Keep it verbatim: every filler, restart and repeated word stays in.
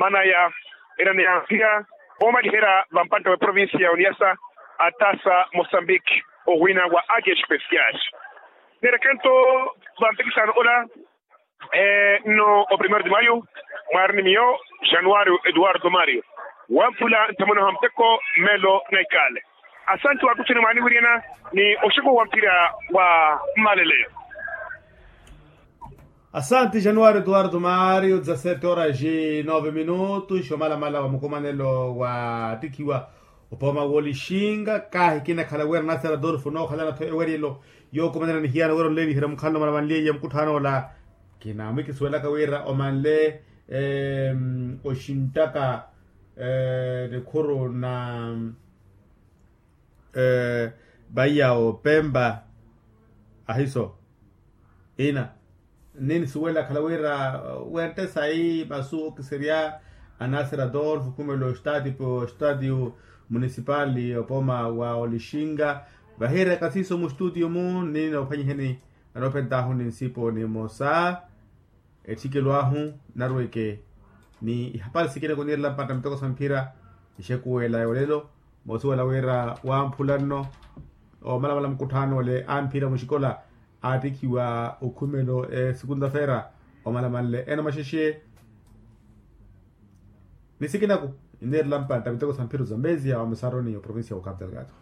Maana ya erani ya mpira oomaliherya vampantta wa eprovincia ya oniasa, attasa mosambiki, owiina wa agia especial. Neerekento vampikisano ola, nno o primeiro de maio, mwaari ni miyo, januario eduardo mario, wamphula nthamuna ha muteko, melo na ikale. Asanti wakuthuni mwaaniwiriyana ni oxiku wa mpira wa mmaleleyo. Asanti januario eduardo mario dezasete horas e nove minutos omalamala wa mukumanelo wa attikhiwa, opooma wolixinga kahi kinakhala wira nasera adolfo nookhalana-tho eweriyelo, yookumanela nihiyana wira onleeliherya mukhalano mala vanliye mukutthanoola. Kinamwikisuwelaka wira omanle oxinttaka nikhuru na vaiya opempa ahiso ina. Ninisuwela akhala wira wente sayi masu okiserya anasera adolfo khumela ostadio municipal, opooma wa olixinga vahiyeryaka siiso mustutio mu ninoophwanyiheni anoophentahu ni nsipo nimosa. Etthikelo ahu narweke ni ihapari sikina kuniirela mpantta miteko sa mphira. Ixekuwela ya olelo moosuwela wira wamphula nno omalamala mukutthaano ole a mphira muxikola aattikhiwa okhumelo e segunda-feira omalamanle ena maxexe. Ni sikinaku iniirela mpantta miteko sa mphira ozambezia wa musaroni oprovincia wa capu delgado.